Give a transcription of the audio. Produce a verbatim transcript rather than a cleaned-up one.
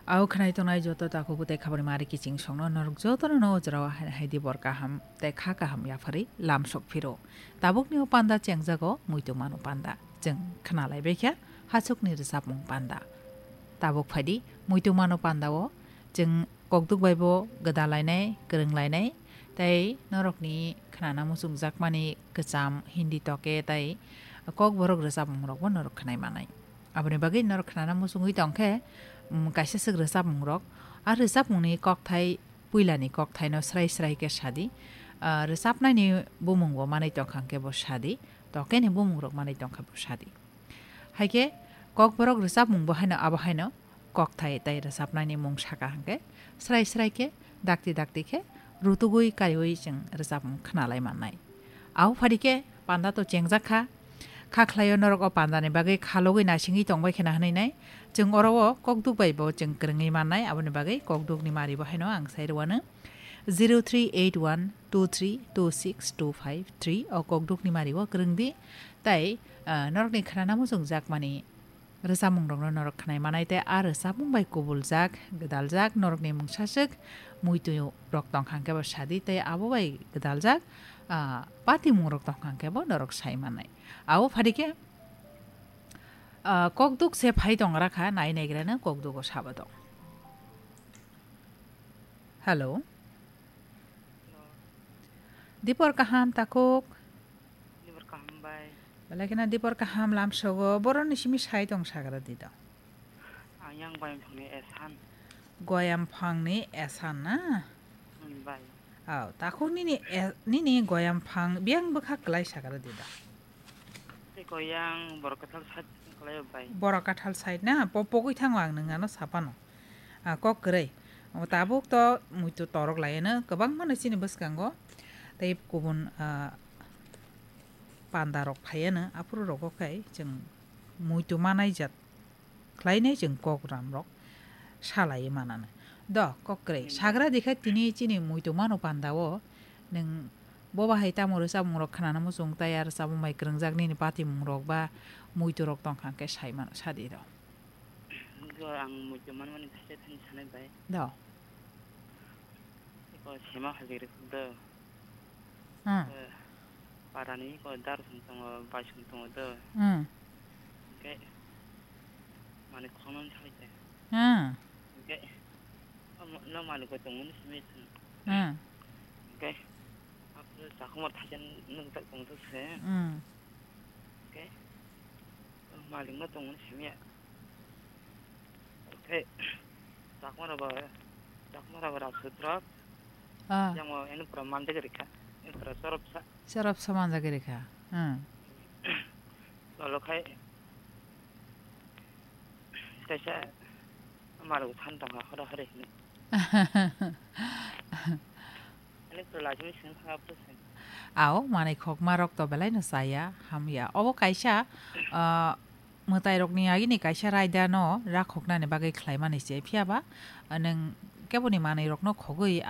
Au khwnai tongnai joto takhuk tei khabari mari kiching songno norok jotono no ojrao hai, hai di bor kaham tei kha kaham yapharwi lam sok phiro. Tabukni o panda chengjago muitu mano panda. Chwng khna lai baikha hachukni rwchapmung panda. Tabuk phaidi muitu mano panda o chwng kokduk bai bo gwda lainai, kwrwng lainai tei norokni khnana muchungjakmani kwcham Hindi toke tei kokborok rwchapmung rokbo norok khwnai manai. Aboni bagwi norok khnana muchungwi tongkhe, mm, kaisa swk rwchapmungrok. A rwchapmungni kokthai, puilani kokthaino srai srai khe sadi. Ah, rwchapnaini bumungbo manwi tongkha hwnkhe bo sadi. Tokeni bumungrok manwi tongkha bo sadi. Haikhe kokborok rwchapmungbo haino abo haino kokthai tei rwchapnaini mung saka hwnkhe srai srai khe dakti dakti khe rutugwi kariui chwng rwchapmung khna lai mannai. Abo phadi khe panda to chengjak kha. Kha khlaio norok o pandani bagwi khalogwi naisingwi tongbai khena hwnwi nai. Chwng oro o kokduk bai bo chwng kwrwngwi mannai, aboni bagwi kokdukni mari bo haino ang sai rwano. Zero three eight one two three two six two five three o kokdukni mari o kwrwng di. Tai, ah, norokni khnana muchungjakmani rwchapmungrokno norok khwnai manai tei a rwchapmung bai kubuljak, gwdaljak norokni mungsaswk muitu rok tongkha hwnkhe bo sadi tei abo bai gwdaljak, ah, patimungrok tongkha hwnkhe bo norok sai manai. Abo phadi khe, ah, kokduk se phai tong rakha, nai naigrano kokdugo sabo tong. Hello. Hello. Dipor kaham takhuk? Dipor kaham bai. Belai kheno dipor kaham lamsogo. Boroni simi sai tong sagra di do. Ang yang goyam phangni esan. Goyam phangni esan na? Hmm, bai. Aw, takhuk nini e-, nini goyam phang biyang bwkha kwlai sagra di do. Tei goyang borok kathal side kwlai bai. Borok kathal side na? Po-, pogwi thango ang nwng ano sapano. Ah, kok kwrwi. O tabuk to muitu torok laiano kwbangma no chini bwskango. Tei kubun, ah, panda rok phaiano aphuru rogo khai chwng muitu manai jat khlainai chwng kok ram rok salai manano. Do, kok kwrwi. Hmm. Sagra dikha tini chini muitu mano panda o nwng bo bahai tamo rwchapmung rok khnana muchung tai ar rwchapmung bai kwrwngjak nini patimung rok ba muitu rok tongkha hwnkhe sai mano sadi do. Bo ang muitu manmani thaisa thani sanai bai. Do. Iko sema hajik rikuk do. Hmm. Eh, parani iko dar song tongo, bai song tongo do. Hmm. Hingke mani khokno salai te. Hmm. Hingke no mani ko tongmani simi song. Hmm. Hingke apo chakuma thaisa nung tak tong se. Hmm. Hingke malikno tongmani simi ya. Oke. Chakma rok ba, chakma rok ba rap sutra. Ah. Yang mau ini pura manja gari ka. Ini pura sorop sa. Sorop sa manja gari ka. Hmm. Lolo khai. Kaisa malu than tong ha hora hore ni. Ani pura lajim sing ha pura sing. Ao, manai khokma rok to belai no chaya, hamya. Obo kaisa, ah, mwtai rokni agini kaisa raida no rakhoknani bagwi khlaimani se, phiya ba, ah, nwng keboni manwi rokno khogwi,